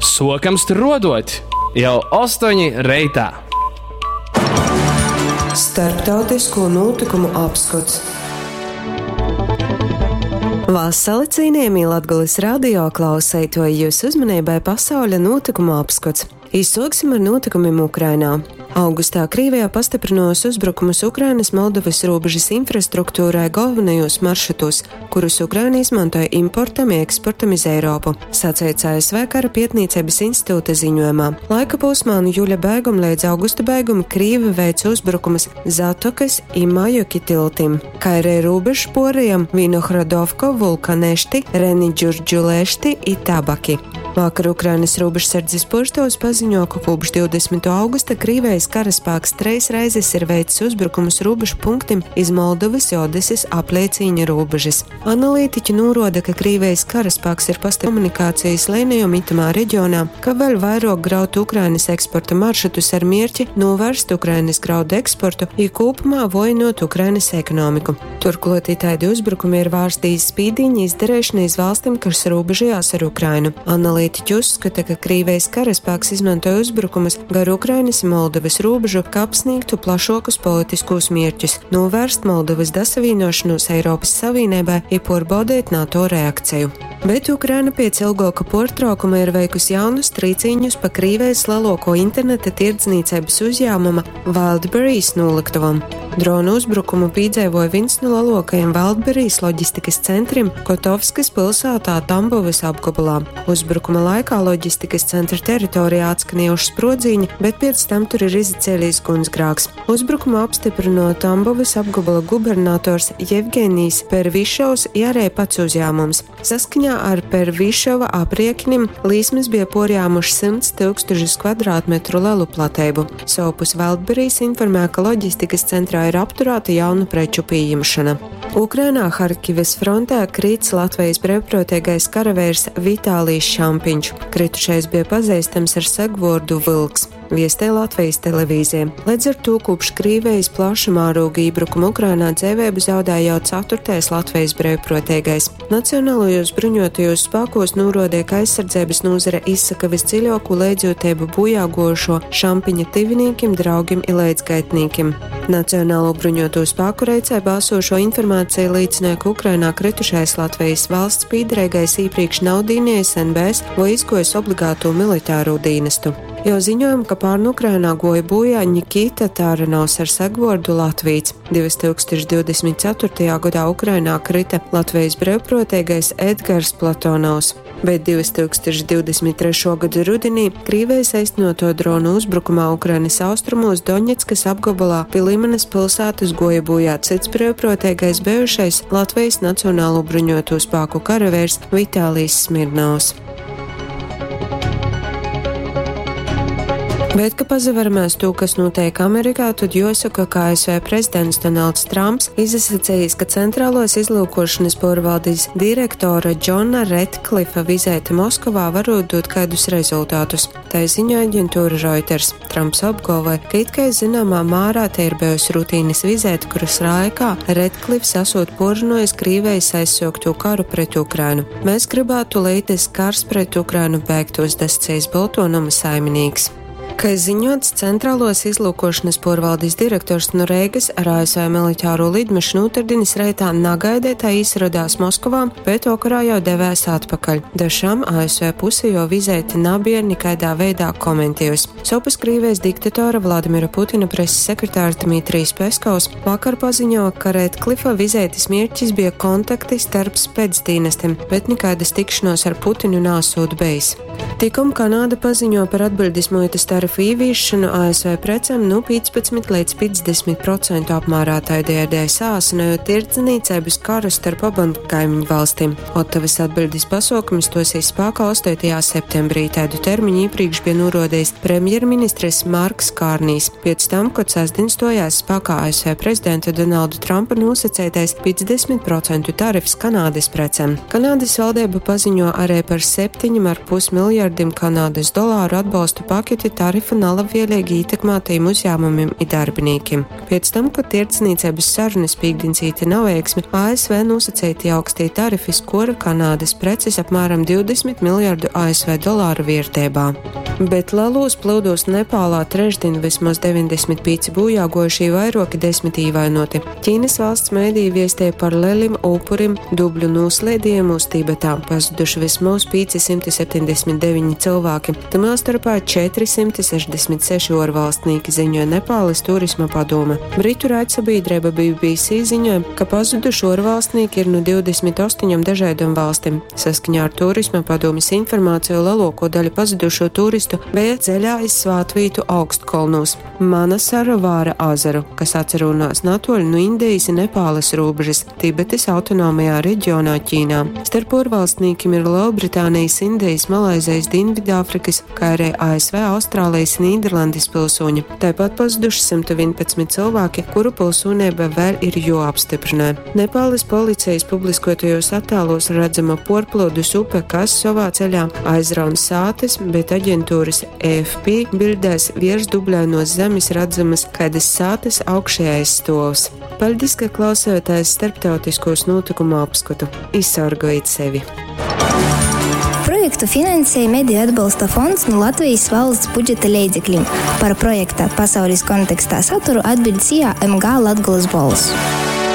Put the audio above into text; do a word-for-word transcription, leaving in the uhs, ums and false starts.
Suokam struoduot jau ostoņi reitā. Starptautisko notikumu apskots. Vasali cienījamie Latgulis radio klausētoji, jūsu uzmanībai pasauļa notikumu apskots. Izsoksim ar notikumiem Ukrainā. Augustā Krīvijā pastiprinos uzbrukumus Ukrainas Moldovas robežas infrastruktūrai galvenajos maršrutos, kurus Ukraina izmantoja importam i eksportam iz Eiropu, saceits A S V Kara pietnīcības institūta ziņojumā. Laika posmā no jūļa beiguma līdz augusta beiguma Krīvi veica uzbrukumus Zatokas i Majoki tiltim, kā arī robežu porajam Vinohradovko, Vulkanešti, Renidžurdžulešti i Tabaki. Vakar Ukrainas robežsardzes purstovs paziņo, ka kopš divdesmitā augusta Krīvijas karaspēks treis reizes ir veicis uzbrukumus robežu punktim iz Moldovas i Odeses apliecīņa robežas. Analītiķi noroda, ka Krīvijas karaspēks ir pastiprinājis komunikācijas līnijom itamā reģionā, ka vēl vairāk graut Ukrainas eksporta maršrutus ar mierķi novērst Ukrainas graudu eksportu i kopumā vojinot Ukrainas ekonomiku. Turklāt itaidi uzbrukumi ir vārsti iz spīdiņa izdarīšana iz valstīm, kas robežojās ar Ukrainu. Analītiķi uzskata, ka Krīvijas karaspēks izmantoja uzbrukumus gar Ukrainas i Moldovas robežu, kā apsniegtu plašākus politiskos mērķus, novērst Moldovas dasavīnošanos Eiropas Savienībai i porbaudīt NATO reakciju. Bet Ukraina pēc ilgāka portraukuma ir veikusi jaunus trīciņus pa Krīvijas lielāko interneta tirdzniecības uzņēmuma Wildberries noliktuvam. Dronu uzbrukumu piedzīvoja viens no lielākajiem Wildberries loģistikas centriem Kotovskas pilsētā Tambovas apgabalā. Uzbrukuma laikā loģistikas centra teritorijā atskanējuši sprodziņi, bet pēc tam tur ir izacēlies gunsgrāks. Uzbrukumu apstiprino Tambovas apgabala gubernators Jevgenijs Pervišovs i arī pats uzņēmums. Saskaņā ar Pervišova apriekinim līsmes bija porjāmuši simts tūkstošus kvadrātmetru lielu platību. Sovpus Wildberries informē, ka loģistikas centrā ir apturēta jaunu preču pieņemšana. Ukrainā Harkivas frontē krīts Latvijas brīvprātīgais karavīrs Vitālijs Šampiņš. Kritušais bija pazīstams ar segvordu Vilks. Viestē Latvijas televīzija. Līdz ar to kopš Krīvijas plaša mēroga iebrukuma Ukrainā dzīvību zaudēja jau ceturtais Latvijas brīvprātīgais. Nacionālajos bruņotajos spēkos norodīja, ka aizsardzības nozare izsaka visdziļāko līdzjūtību bojāgojušo Šampiņa tivinīkim, draugim i līdzgaitnīkim. Nacionālo bruņoto spēku reicē balsošo informāciju liecināja, ka Ukrainā kritušais Latvijas valsts pīderīgais iepriekš nav dīnējis N B S vai izgojis obligāto militāro dienestu. Jau ziņojam, ka pārn Ukrainā goja bojā Nikita Tāranovs ar segvordu Latvīts. divtūkstoš divdesmit ceturtajā gadā Ukrainā krita Latvijas brīvprātīgais Edgars Platonovs, bet divtūkstoš divdesmit trešo gadu rudenī Krīvijas aiznoto dronu uzbrukumā Ukrainas austrumos Doņetskas apgabalā pie Limanas pilsētas goja bojā cits brīvprātīgais bijušais Latvijas Nacionālo bruņoto spēku karavīrs Vitālijs Smirnovs. Bet, ka pazaveramies to, kas notiek Amerikā, tad jāsaka, ka A S V prezidents Donalds Trumps izsacījis, ka centrālos izlūkošanas pārvaldes direktora Džona Ratcliffa vizīte Moskovā varot dot kādus rezultātus. Tā ziņo aģentūra Reuters. Trumps apgalvoja, ka it kā zināmā mērā te ir bijusi rutīnas vizīte, kuras laikā Ratcliffs esot porunojis Krīvijas aizsākto karu pret Ukrainu. Mēs gribētu, lai tas kars pret Ukrainu beigtos, dascējis Boltonuma saimnieks. Kā ziņots, centrālos izlūkošanas porvaldes direktors no Reigas ar A S V militāro lidmašīnu otrdienys reitā nagaidētā izradās Moskovā, bet vakarā jau devēs atpakaļ. Dažām A S V puse jau vizēti nabija nekādā veidā komentējusi. Sopas Krīvijas diktatora Vladimira Putina preses sekretārs Dmitrijs Peskovs vakar paziņo, ka Ratcliffa vizētis mierķis bija kontakti starp spēcdienestim, bet nekādas tikšanos ar Putinu nāsūt bejis. Tikom Kanāda paziņo par atbildes muitas tarifu ieviešanu A S V precēm nu piecpadsmit līdz piecdesmit procentu apmērā tādējādi sāsinājot tirdzniecības karu starp abām kaimiņu valstīm. Ottavas atbildes pasaukums stosies spēkā astotajā septembrī. Tādu termiņu iepriekš bija norodījis premjerministrs Marks Kārnijs. Pēc tam, kad sestdien stojās spēkā A S V prezidenta Donalda Trumpa nosacītais piecdesmit procentu tarifs Kanādas precēm. Kanādas valdība paziņo arī par septiņiem ar pus miljardiem Kanādas dolāru atbalstu paketi tarifu tarifu nalabvieleigi ītekmātajim uzjāmumim i darbinīkim. Piec tam, kod tierdznīceibys sarunys pīktdiņ cīte naveiksmi, A S V nūsaceitī augstī tarifi skuora Kanādys precis apmēram divdesmit miljardu A S V dolāru vierteibā. Bet lelūs plyudūs Nepālā trešdien vismaz deviņdesmit pīci bojāguojušī, vairuoki desmit īvainoti. Ķīnas valsts mediji viestīja par lelim upurim dubļu nūsliedījumos Tibetā. Pazuduši vismaz pieci simti septiņdesmit deviņi cilvēki, tamā starpā četri simti sešdesmit seši uorvalstnīki, ziņoja Nepāles turisma padome. Britu raidsabiedrība B B C ziņoja, ka pazuduši uorvalstnīki ir no divdesmit astoņom dažādām valstīm. Saskaņā ar turisma padomes informāciju lielāko daļu pazudušo turistu bija ceļā iz svātvītu augstkolnos Manasarovāra azaru, kas atsarūnās natoļu no Indijas i Nepāles robežas Tibetes autonomajā reģionā Ķīnā. Starp uorvalstnīkiem ir Lielbritānijas, Indijas, Malaizijas, Dienvidāfrikas, kā arī A S V, Austrālijas, Nīderlandes pilsoņi. Tāpat pazuduši simt vienpadsmit cilvēki, kuru pilsonība vēl ir joapstiprinē. Nepāles policijas publiskotajos attēlos redzama porplūdus upe, kas savā ceļā aizraun sātes, bet aģentūras A F P bildēs virs dubļainos zemes redzamas kaidas sātes augšējais stovs. Paldies, ka klausāties starptautiskos notikumu apskatu. Izsargojiet sevi! Projektu finansēja Mediju atbalsta fonds no Latvijas valsts budžeta leidzekļiem. Par projekta pasaules kontekstā saturu atbild SIA M G Latgolas bolss.